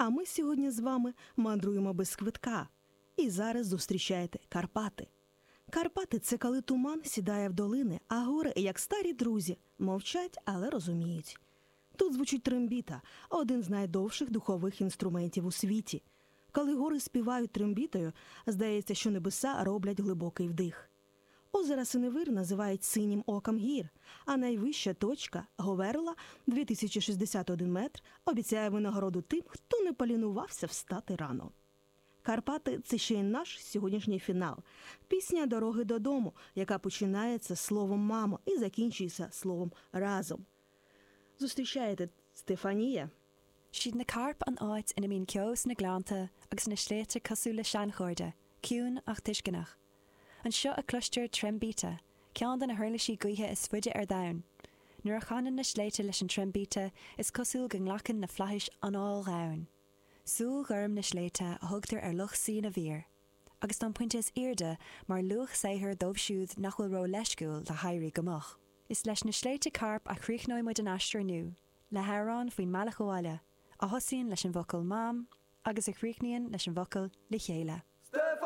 А ми сьогодні з вами мандруємо без квитка. І зараз зустрічаєте Карпати. Карпати це коли туман сідає в долини, а гори, як старі друзі, мовчать, але розуміють. Тут звучить трембіта, один з найдовших духових інструментів у світі. Коли гори співають трембітою, здається, що небеса роблять глибокий вдих. Озеро Синевир називають синім оком гір, а найвища точка Говерла 2061 метр обіцяє винагороду тим, хто не полінувався встати рано. Карпати це ще й наш сьогоднішній фінал. Пісня Дороги додому, яка починається словом мамо і закінчується словом разом. Зустрічаєте Стефанія. 'Siad na Cairp an áit ina mbíonn ceo sna gleannta agus na sléibhte cosúil le seanchairde, ciúin ach tuisceanach. Anseo a cloistear trembita, ceann de na huirlisí gaoithe is faide ar domhan. Nuair a chanann na sléibhte leis an trembita, is cosúil go nglacann na flaithis anáil dhomhain. Súil ghorm na sléibhte a thugtar ar Loch Suí na bhFíor. Agus tá an pointe is airde mar luach saothair dóibh siúd nach bhfuil ró-leisciúil le héirí go moch. Is leis na sléibhte Cairp a chríochnóidh muid an aistear inniu, le hamhrán faoin mbealach abhaile, a thosaíonn leis an bhfocal 'Mam' agus a chríochnaíonn leis an bhfocal 'le chéile'.